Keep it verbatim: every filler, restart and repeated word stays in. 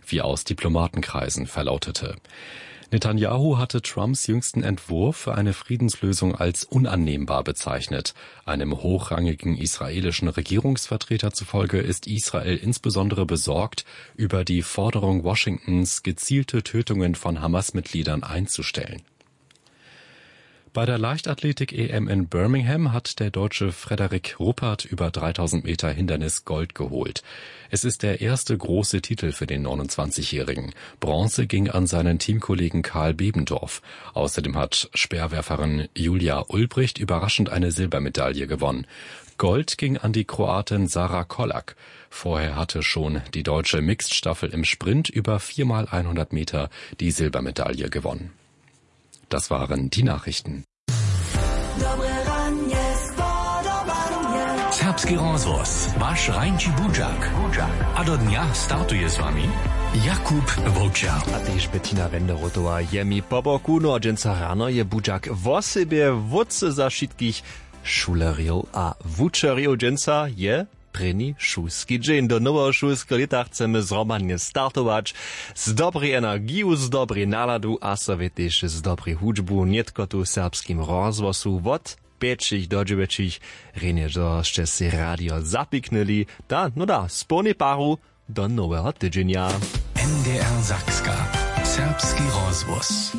wie aus Diplomatenkreisen verlautete. Netanyahu hatte Trumps jüngsten Entwurf für eine Friedenslösung als unannehmbar bezeichnet. Einem hochrangigen israelischen Regierungsvertreter zufolge ist Israel insbesondere besorgt über die Forderung Washingtons, gezielte Tötungen von Hamas-Mitgliedern einzustellen. Bei der Leichtathletik-E M in Birmingham hat der Deutsche Frederik Ruppert über dreitausend Meter Hindernis Gold geholt. Es ist der erste große Titel für den neunundzwanzigjährigen. Bronze ging an seinen Teamkollegen Karl Bebendorf. Außerdem hat Speerwerferin Julia Ulbricht überraschend eine Silbermedaille gewonnen. Gold ging an die Kroatin Sara Kolak. Vorher hatte schon die deutsche Mixed-Staffel im Sprint über vier mal hundert Meter die Silbermedaille gewonnen. Das waren die Nachrichten. Serbski rozhłos, waš rańći budźak. A do dnja startuje z wami Jakub Wowčer. A tež Bettina Wenderotowa je mi po boku. No a dźensa rano je budźak wosebje wótře za wšitkich šulerjow a wučerjow. Dźensa je prěni šulski dźeń. Do noweho šulskeho lěta chcemy zhromadnje startować z dobrej energiju, z dobrej naladu a so wětež z dobrej hudźbu. Nětko tu w Serbskim rozhłosu wot pjećich do dźewjećich. Rjenje, zo sće sej radio zapiknyli. Da, no da, z połnej paru do noweho tydźenja. N D R Sakska. Serbski rozhłos.